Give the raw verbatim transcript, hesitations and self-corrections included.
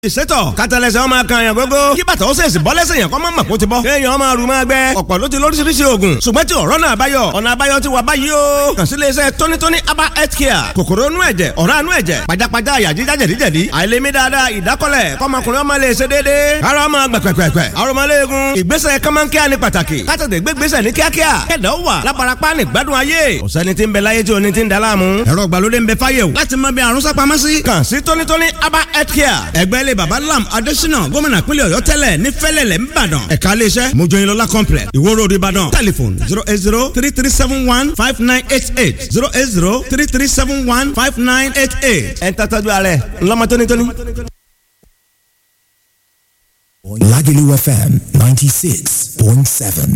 Ìsétọ̀ kátàlẹ́sẹ̀ ọmọ kan yàn gógó kí bàtà ó sèṣì bọ́ lẹ́sẹ̀ yàn kọ́ mọ́ mọ̀ kó ti bọ́. Kéèyàn máa rù máa gbẹ. Ọ̀pọ̀ ló ti lóríṣiríṣi oògùn. Ṣùgbọ́n tí ọ̀rọ̀ náà báyọ̀, ọ̀nà àbáyọ ti wà báyìí o. Kàn sí iléeṣẹ́ tónítóní Aba Health Care. Kòkòrò inú ẹ̀jẹ̀, ọ̀rá inú ẹ̀jẹ̀, pajápajá àyà jíjá jẹ̀díjẹ̀dí, àìlèmí dáadáa, ìdákọ́lẹ̀, kọ́mọkùnrin ọmọ lè ṣe déédéé. Ara ọmọ gbẹ̀pẹ̀pẹ̀pẹ̀, arọmọléegun, ìgbésẹ̀ kọ́mọ́nkíá ni pàtàkì. Kátàdé gbégbésẹ̀ ní kíákíá. Kẹ̀dá ó wà lábarapá ní gbádùn ayé. Ọ̀sẹ́ni tí ń bẹ láyé tí oní ti ń da láàmú. Ẹ̀rọ ìgbàlódé ń bẹ fáyé o. Láti mọ bí àrùn sápamọ́ sí. Kàn sí tónítóní Aba Health Care. Ẹgbẹ́ ilé Baba Lam Adésínà, gómìnà pínlẹ̀ Ọ̀yọ́ tẹ́lẹ̀ ní Fẹ́lẹ́lẹ̀ ńbàdàn. Ẹ̀ka iléeṣẹ́ Mojoyinlọ́lá Complex, Ìwó Road, Ìbàdàn. Telephone zero eight zero three three seven one five nine eight eight, zero eight zero three three seven one five nine eight eight. Ẹ̀ ń tọ́jú ara ẹ̀ ńlọ́mọ tónítóní. Lagelu F M ninety-six point seven.